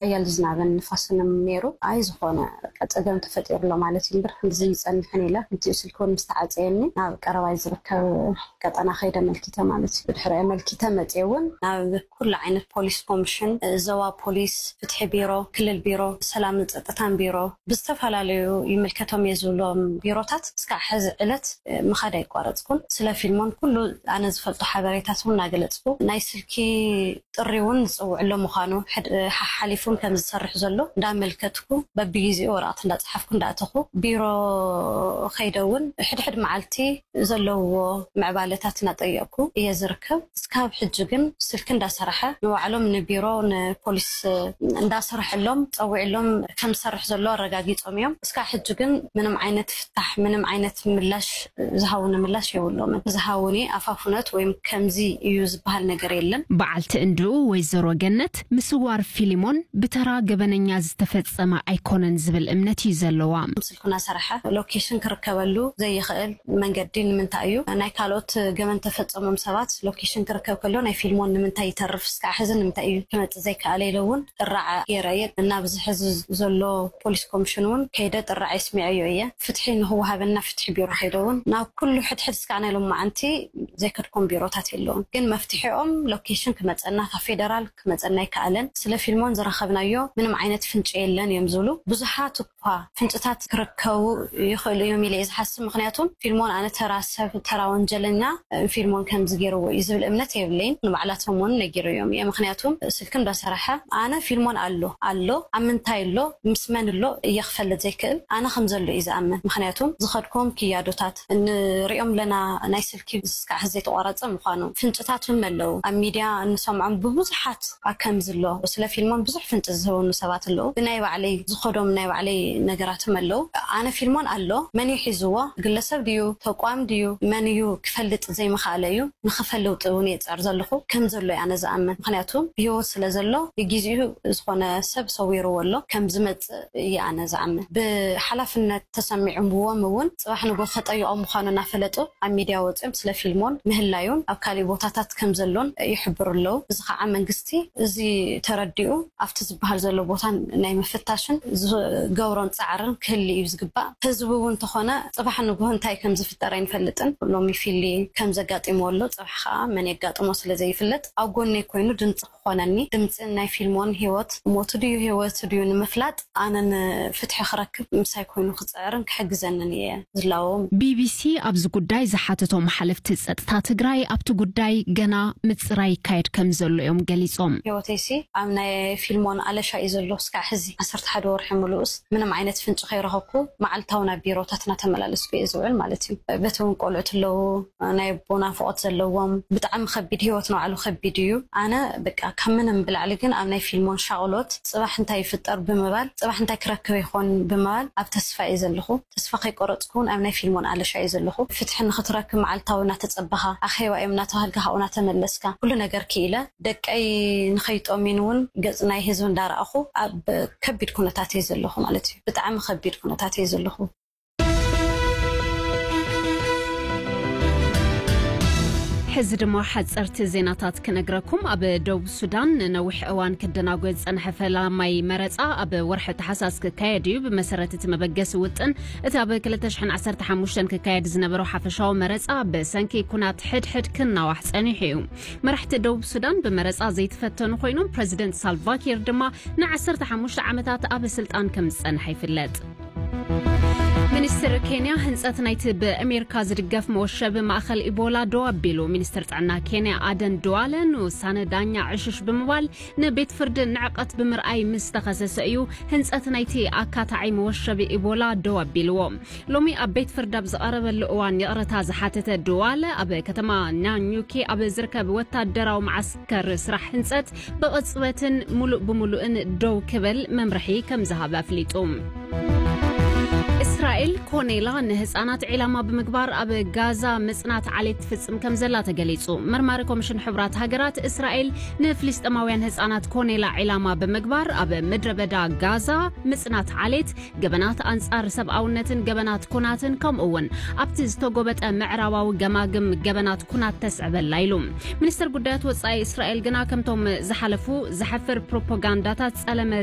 ሓያል ዝናብን ንፋስን ነይሩ። ኣይ ዝኾነ በቃ ጸገም ተፈጢሩ ኣሎ ማለት እዩ እምበር፣ ከምዚ ይጸንሕን ኢለ፣ ክልቲኡ ስልኪ እውን ምስ ተዓጸየኒ፣ ናብ ቀረባይ ዝርከብ ቀጠና ከይደ ኣመልኪተ ማለት እዩ። ብድሕሪ ኣመልኪተ መጽየ እውን ናብ ኩሉ ዓይነት ፖሊስ ኮሚሽን፣ ዞባ ፖሊስ፣ ፍትሒ ቢሮ፣ ክልል ቢሮ፣ ሰላምን ጸጥታን ቢሮ፣ ብዝተፈላለዩ ይምልከቶም እየ ዝብሎም ቢሮታት እስካዕ ሕዚ ዕለት ምኻድ ኣይቋረጽኩን። ስለ ፊልሞን ኩሉ ኣነ ዝፈልጦ ሓበሬታት እውን እናገለጽኩ፣ ናይ ስልኪ ጥሪ እውን ዝጽውዕሎ ምዃኑ፣ ሕድ-፣ ሓሓሊፉን ከም ዝሰርሕ ዘሎ እንዳመልከትኩ፣ በብግዜኡ ወረቐት እንዳጸሓፍኩ እንዳእተኹ፣ ቢሮ ከይደ እውን ሕድሕድ መዓልቲ ዘለዎ ምዕባለታት እናጠየቕኩ እየ ዝርከብ። እስካብ ሕጂ ግን ስልኪ እንዳሰራሐ፣ ንባዕሎም ንቢሮ ንፖሊስ እንዳሰርሐሎም፣ ጸዊዕሎም ከም ዝሰርሕ ዘሎ ኣረጋጊጾም እዮም። እስካብ ሕጂ ግን ምንም ዓይነት ፍታሕ፣ ምንም ዓይነት ምላሽ ዝሃቡኒ ምላሽ የብሎምን። ዝሃቡኒ ኣፋፍኖት ወይም ከምዚ እዩ ዝበሃል ነገር የለን። በዓልቲ እንድኡ ወይዘሮ ገነት፣ ምስዋር ፊሊሞን ብተራ ገበነኛ ዝተፈጸመ ኣይኮነን ዝብል እምነት እዩ ዘለዋ። ስልኩና ሰራሐ ሎኬሽን ክርከበሉ ዘይኽእል መንገዲ ንምንታይ እዩ? ናይ ካልኦት ገበን ተፈጸሞም ሰባት ሎኬሽን ክርከብ ከሎ ናይ ፊልሞን ንምንታይ ይተርፍ? እስካዕ ሕዚ ንምንታይ እዩ ክመጽእ ዘይከኣለ ኢለ እውን ጥራዕ ገይረ እየ። እናብዚ ሕዚ ዘሎ ፖሊስ ኮሚሽን እውን ከይደ ጥራዕ የስሚዐዮ እየ። ፍትሒ ንክወሃበና ፍትሒ ቢሮ ከይደ እውን ናብ ኩሉ ሕድሕድ እስካዕ ናይ ሎማዓንቲ ዘይከድኩም ቢሮታት የለውን። ግን መፍትሒኦም ሎኬሽን ክመጸና፣ ካብ ፌደራል ክመጸና ኣይከኣለን። ስለ ፊልሞን ዝረኸብናዮ ምንም ዓይነት ፍንጭ የለን እዮም ዝብሉ። ብዙሓት እኳ ፍንጭታት ክርከቡ ይኽእሉ እዮም ኢለ እየ ዝሓስብ። ምኽንያቱም ፊልሞን ኣነ ተራ ሰብ፣ ተራ ወንጀለኛ፣ እ፣ ፊልሞን ከምዚ ገይርዎ እዩ ዝብል እምነት የብለይን። ንባዕላቶም እውን ነጊረዮም እየ። ምኽንያቱም ስልኪ እንዳሰራሐ ኣነ ፊልሞን ኣሎ፣ ኣሎ፣ ኣብ ምንታይ ኣሎ፣ ምስ መን ኣሎ እየ ክፈልጥ ዘይክእል። ኣነ ከም ዘሎ እዩ ዝኣምን። ምኽንያቱም ዝኸድኩም ክያዶታት ንሪኦም ኣለና፣ ናይ ስልኪ እስካዕ ሕዚ ዘይተቋረጸ ምዃኑ፣ ፍንጭታት እውን ኣለዉ። ኣብ ሚድያ እንሰምዖም ብብዙሓት ኣከም ዝሎ፣ ስለ ፊልሞን ብዙሕ ፍንጭ ዝህቡኒ ሰባት ኣለዉ። ብናይ ባዕለይ ዝኸዶም ናይ ባዕለይ ነገራትም ኣለዉ። ኣነ ፊልሞን ኣሎ፣ መን እዩ ሒዝዎ? ግለሰብ ድዩ? ተቋም ድዩ? መን እዩ ክፈልጥ ዘይምኽኣለ እዩ። ንኽፈልጥ እውን እየ ጸር ዘለኹ። ከም ዘሎ እየ ኣነ ዝኣምን። ምኽንያቱ ብህይወት ስለ ዘሎ፣ ብግዜኡ ዝኾነ ሰብ ሰዊርዎ ኣሎ። ከም ዝመጽእ እየ ኣነ ዝኣምን። ብሓላፍነት ተሰሚዖምዎም እውን ጽባሕ ንግሆ ከጠይቖም ምዃኑ እናፈለጡ ኣብ ሚድያ ወጺኦም ስለ ፊልሞን ምህላዩን ኣብ ካሊእ ቦታታት ከም ዘሎን ይሕብሩ ኣለዉ። እዚ ከዓ መንግስቲ እዚ ተረዲኡ ኣብቲ ዝበሃል ዘሎ ቦታ ናይ ምፍታሽን ዝገብሮን ጻዕርን ክህሊ እዩ ዝግባእ። ህዝቢ እውን እንተኾነ ጽባሕ ንግሆ እንታይ ከም ዝፍጠር ኣይንፈልጥን። ሎሚ ፊሊ ከም ዘጋጢምዎ ኣሎ፣ ጽባሕ ከዓ መን የጋጥሞ ስለ ዘይፍለጥ ኣብ ጎነይ ኮይኑ ድምፂ ክኾነኒ፣ ድምፂ ናይ ፊልሞን ህይወት ሞቱ ድዩ ህይወቱ ድዩ ንምፍላጥ ኣነ ንፍትሒ ክረክብ ምሳይ ኮይኑ ክፅዕርን ክሕግዘንን እየ ዝላዎም። ቢቢሲ ኣብዚ ጉዳይ ዝሓተቶም ሓለፍቲ ጸጥታ ትግራይ ኣብቲ ጉዳይ ገና ምጽራይ ይካየድ ከም ዘሎ እዮም ገሊጾም። ህይወተይሲ ኣብ ናይ ፊልሞን ኣለሻ እዩ ዘሎ። እስካዕ ሕዚ ዓሰርተ ሓደ ወርሒ ምሉእስ ምንም ዓይነት ፍንጭ ከይረኸብኩ መዓልታዊ ናብ ቢሮታት እናተመላለስኩ እየ ዝውዕል ማለት እዩ። በቲ እውን ቆልዑት ኣለዉ፣ ናይ ኣቦ ናፍቖት ዘለዎም፣ ብጣዕሚ ከቢድ ህይወት ንባዕሉ ከቢድ እዩ። ኣነ በቃ ካብ ምንም ብላዕሊ ግን ኣብ ናይ ፊልሞን ሻቕሎት ጽባሕ እንታይ ይፍጠር ብምባል፣ ጽባሕ እንታይ ክረክብ ይኾን ብምባል ኣብ ተስፋ እየ ዘለኹ። ተስፋ ከይቆረጽኩ እውን ኣብ ናይ ፊልሞን ኣለሻ እየ ዘለኹ። ፍትሒ ንኽትረክብ መዓልታዊ እናተጸበኻ፣ ኣኼባ እዮም እናተባህልካ ካብኡ እናተመለስካ፣ ኩሉ ነገር ክኢለ ደቀይ ንኸይጦሚን እውን ገጽ ናይ ህዝቢ እንዳረኣኹ ኣብ ከቢድ ኩነታት እየ ዘለኹ ማለት እዩ። ብጣዕሚ ከቢድ ኩነታት እየ ዘለኹ። ሕዚ ድማ ሓጸርቲ ዜናታት ክነግረኩም። ኣብ ደቡብ ሱዳን ንነዊሕ እዋን ክደናጎ ዝጸንሐ ፈላማይ መረጻ ኣብ ወርሒ ታሕሳስ ክካየድ እዩ። ብመሰረት እቲ መበገሲ ውጥን፣ እቲ ኣብ ክልተ ሽሕን ዓሰርተ ሓሙሽተን ክካየድ ዝነበሮ ሓፈሻዊ መረጻ ብሰንኪ ኩናት ሕድሕድ ክናዋሕ ጸኒሑ እዩ። መራሕቲ ደቡብ ሱዳን ብመረጻ ዘይተፈተኑ ኮይኖም፣ ፕረዚደንት ሳልቫኪር ድማ ንዓሰርተ ሓሙሽተ ዓመታት ኣብ ስልጣን ከም ዝጸንሐ ይፍለጥ። ሚኒስትር ኬንያ ህንጸት ናይቲ ብኣሜሪካ ዝድገፍ መወሸቢ ማእኸል ኢቦላ ደው ኣቢሉ። ሚኒስትር ጥዕና ኬንያ ኣደን ድዋለ ንውሳነ ዳኛ ዕሽሽ ብምባል ንቤት ፍርዲ ንዕቀት ብምርኣይ ምስ ተኸሰሰ እዩ ህንጸት ናይቲ ኣካታዒ መወሸቢ ኢቦላ ደው ኣቢልዎ። ሎሚ ኣብ ቤት ፍርዲ ኣብ ዝቐረበሉ እዋን ይቕረታ ዝሓተተ ድዋለ ኣብ ከተማ ናኙኪ ኣብ ዝርከብ ወታደራዊ መዓስከር ስራሕ ህንጸት ብቕጽበትን ሙሉእ ብምሉእን ደው ክብል መምርሒ ከም ዝሃበ ኣፍሊጡ። እስራኤል እስራኤል ኮኔላ ንህጻናት ዒላማ ብምግባር ኣብ ጋዛ ምጽናት ዓሌት ትፍጽም ከም ዘላ ተገሊጹ። መርማሪ ኮሚሽን ሕቡራት ሃገራት፣ እስራኤል ንፍልስጤማውያን ህጻናት ኮኔላ ዒላማ ብምግባር ኣብ ምድረ በዳ ጋዛ ምጽናት ዓሌት፣ ገበናት ኣንጻር ሰብኣውነትን ገበናት ኩናትን፣ ከምኡ እውን ኣብቲ ዝተጎበጠ ምዕራባዊ ገማግም ገበናት ኩናት ተስዕበላ ኢሉ። ሚኒስትር ጉዳያት ወጻኢ እስራኤል ግና ከምቶም ዝሓለፉ ዘሕፍር ፕሮፓጋንዳታት ጸለመ